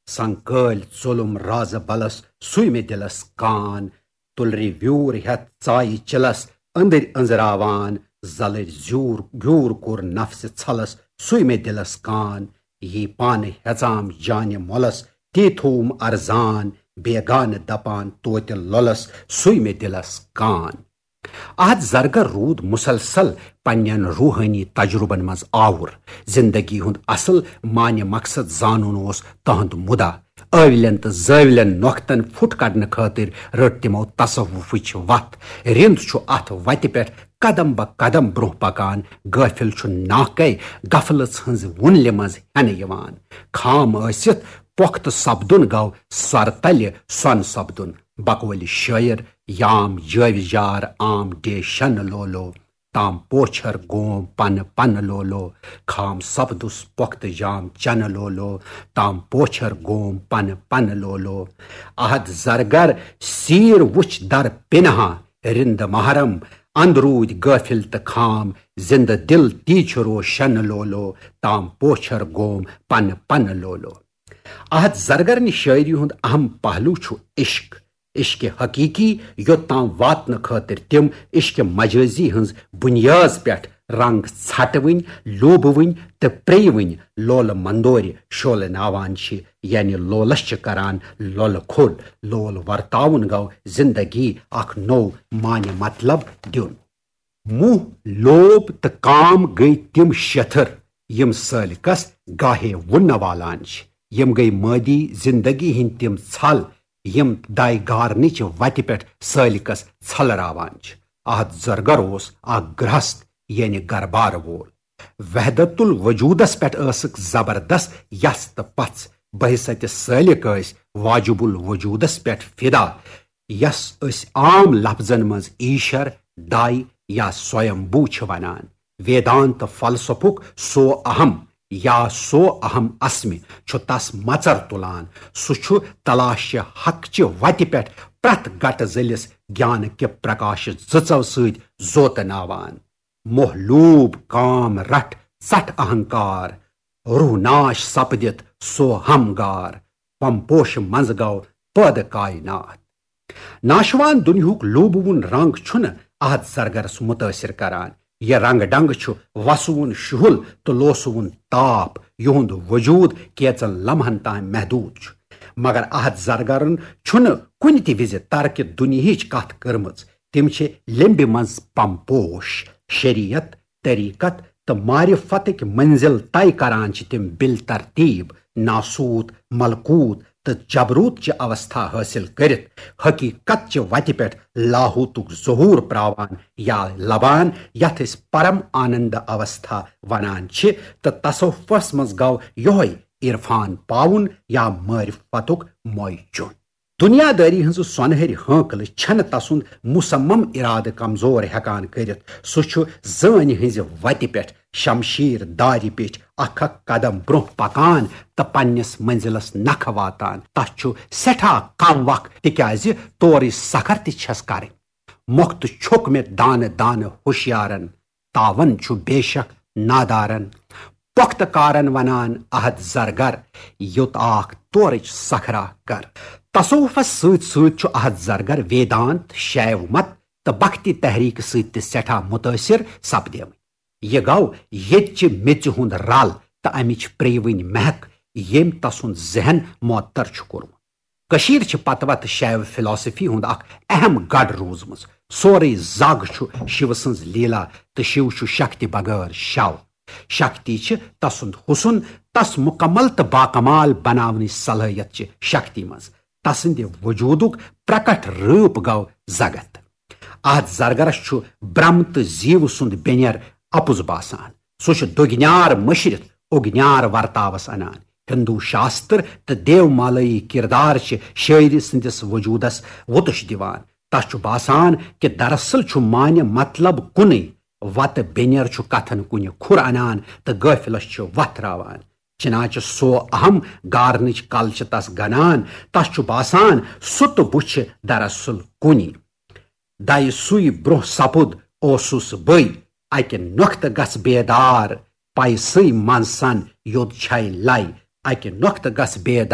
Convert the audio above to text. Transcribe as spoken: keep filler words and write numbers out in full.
سنکٲلۍ ژوٚلُم رازٕ bills, سُے مےٚ دِلس کان۔ تُلرِ ویوٗر ہٮ۪تھ ژایہِ چِلس، أنٛدٕرۍ أنٛزراوان۔ زلٕرۍ زیوٗر گیوٗر کوٚر نفسہِ ژھلس، سُے مےٚ دِلس کان۔ یی پانہٕ ہٮ۪ژام جانہِ مۄلس، تی تھووُم ارزان۔ بیگانہٕ دپان توتہِ لۄلس، سُے مےٚ دِلس کان۔ احد زرگر روٗد مسلسل پننٮ۪ن روحٲنی تجربن منٛز آوُر۔ زندگی ہُنٛد اصل معنی مقصد زانُن اوس تہنٛد مُدا۔ ٲولٮ۪ن تہٕ زٲولٮ۪ن نۄختن پھُٹ کڑنہٕ خٲطرٕ رٔٹ تِمو تصوفٕچ وتھ۔ رِند چھُ اتھ وتہِ پٮ۪ٹھ قدم بہ قدم برونٛہہ پکان۔ غٲفِل چھُ ناکے غفلژ ہٕنٛز وُنلہِ منٛز ہٮ۪نہٕ یِوان۔ خام ٲسِتھ پۄختہٕ سپدُن گوٚو سر تلہِ سۄن سپدُن۔ بقولِ شٲعر، یام جٲوِجار عام ڈے شن لولو، تام پوچھر گوم پن پن لولو۔ خام سپدُس پۄختہٕ جام چن لولو، تام پوچھر گوم پن پن لولو۔ احد زرگر سیر وُچھ در پنہاں، رِند محرم اندروٗدۍ غٲفِل تہٕ خام۔ زِندٕ دِل تی چھُ روشن لولو، تام پوچھر گوم پن پن لولو۔ احد زرگرنہِ شٲعری ہُنٛد اہم پہلو چھُ عشق۔ عشق حقیقی یوٚت تام واتنہٕ خٲطرٕ تِم عشق مجازی ہٕنٛز بُنیٲز پٮ۪ٹھ رنگ ژھٹوٕنۍ، لوٗبوٕنۍ تہٕ پریوٕنۍ لولہٕ مندورِ شولہٕ ناوان چھِ، یعنی لولس چھِ کران لولہٕ کھوٚل۔ لول ورتاوُن گوٚو زندگی اکھ نوٚو معنی مطلب دیُن۔ موہ، لوب تہٕ کام گٔے تِم شتھر، یِم سٲلِکس گاہے وُننہٕ والان چھِ۔ یِم گٔے مٲدی زندگی ہٕنٛدۍ تِم ژھل، یِم داے گارنٕچ وتہِ پٮ۪ٹھ سٲلِکس ژھلراوان چھِ۔ احد زرگر اوس اکھ گرہست، یعنی گربار وول۔ وحدت الوجودس پٮ۪ٹھ ٲسٕکھ زبردست یژھ تہٕ پژھ۔ بحیثیت سٲلِک ٲسۍ واجب الوجودس پٮ۪ٹھ فدا، یس أسۍ عام لفظن منٛز ایشور، داے یا سویمبو چھِ ونان۔ ویدانت فلسفُک سو اہم یا سو اہم اسمِ چھُ تس مژر تُلان۔ سُہ چھُ تلاش حق چہِ وتہِ پٮ۪ٹھ پرٛٮ۪تھ گٹہٕ ذٔلِس گیان کہِ پرکاش زٕژو سۭتۍ زوتناوان۔ موہ لوٗب کام رٹھ ژٹھ اہنکار، روح ناش سپدِتھ سو ہمگار، پم پوش منٛز گوٚو پٲدٕ کائنات۔ ناشوان دُنیاہُک لوٗبوُن رنگ چھُنہٕ احد زرگرس مُتٲثر کران۔ یہِ رنگ ڈنگ چھُ وسوُن شُہُل تہٕ لوسوُن تاپھ۔ یِہُنٛد وجوٗد کینژن لمحن تام محدوٗد چھُ۔ مگر احد زرگرن چھُنہٕ کُنہِ تہِ وِزِ ترکہِ دُنیاہٕچ کتھ کٔرمٕژ۔ تِم چھِ لیمبہِ منٛز پم پوش۔ شریعت، طریقت تہٕ معرفتٕکۍ منزل طے کران چھِ تِم بالترتیب، ناسوت، ملکوت تہٕ جبروت چہِ اوستھا حٲصِل کٔرِتھ حقیقت چہِ وتہِ پٮ۪ٹھ لاہوتُک ظہور پراوان یا لبان، یتھ أسۍ پرم آنند اوستھا ونان چھِ۔ تہٕ تصوفس منٛز گوٚو یۄہے عرفان پاوُن یا معرفتُک موے چُن۔ دنیا دٲری ہٕنٛز سۄنہٕرۍ ہٲنکلہٕ چھنہٕ تسُنٛد مصمم ارادٕ کمزور ہیکان کٔرِتھ۔ سُہ چھُ زٲنۍ ہٕنٛزِ وتہِ پٮ۪ٹھ شمشیر دارِ پیٚٹھۍ اکھ اکھ قدم برونٛہہ پکان تہٕ پننِس منزلس نکھٕ واتان۔ تس چھُ سٮ۪ٹھاہ کم وق، تِکیازِ تورٕچ سکھر تہِ چھس کرٕنۍ۔ مۄختہٕ چھوٚک مےٚ دانہٕ دانہٕ ہوشیارن، تاون چھُ بے شک نادارن۔ پۄختہٕ کارن ونان احد زرگر، یوٚت آکھ تورٕچ سکھرا کر۔ تصوفس سۭتۍ سۭتۍ چھُ احد زرگر ویدانت، شیو مت تہٕ بھکتی تحریک سۭتۍ تہِ سٮ۪ٹھاہ متٲثر سپدیمٕتۍ۔ یہِ گوٚو ییٚتہِ چہِ میٚژِ ہُنٛد رل تہٕ امِچ پریوٕنۍ مہک، ییٚمۍ تسُنٛد ذہن معطر چھُ کوٚرمُت۔ کٔشیٖر چھِ پتہٕ وتہٕ شیو فلاسفی ہُنٛد اکھ اہم گڑھ روٗزمٕژ۔ سورُے زگ چھُ شِو سٕنٛز لیلا تہٕ شِو چھُ شکتی بغٲر شو۔ شکتی چھِ تسُنٛد حُسن، تس مکمل تہٕ باکمال بناونٕچ صلٲحیت چھِ شکتی منٛز۔ تسٕنٛدِ وجوٗدُک پرکٹ رٲپ گوٚو زگت۔ اتھ زرگرس چھُ برم تہٕ زیو سُنٛد بینر اپُز باسان۔ سُہ چھُ دُگنیار مٔشرِتھ اُگنیار ورتاوس انان۔ ہندو شاستر تہٕ دیو مالٲیی کردار چھِ شٲعری سٕنٛدِس وجوٗدس وُتُش دِوان۔ تس چھُ باسان کہِ دراصل چھُ معنی مطلب کُنُے، وتہٕ بینر چھُ کتھن کُنہِ کھُر انان تہٕ غٲفلس چھُ وتھ راوان۔ چنانچہ سو اہم گارنٕچ کل چھِ تس گنان۔ تس چھُ باسان سُہ تہٕ بہٕ چھِ دراصل کُنی۔ دَیہِ سُے برونٛہہ سپُد اوسُس بٕے، اَکہِ نۄختہٕ گژھ بیدار، پایہِ سٕے منٛز سَن یوٚت چھَے لَے، اکہِ نۄقطہٕ گژھ بیٚیہِ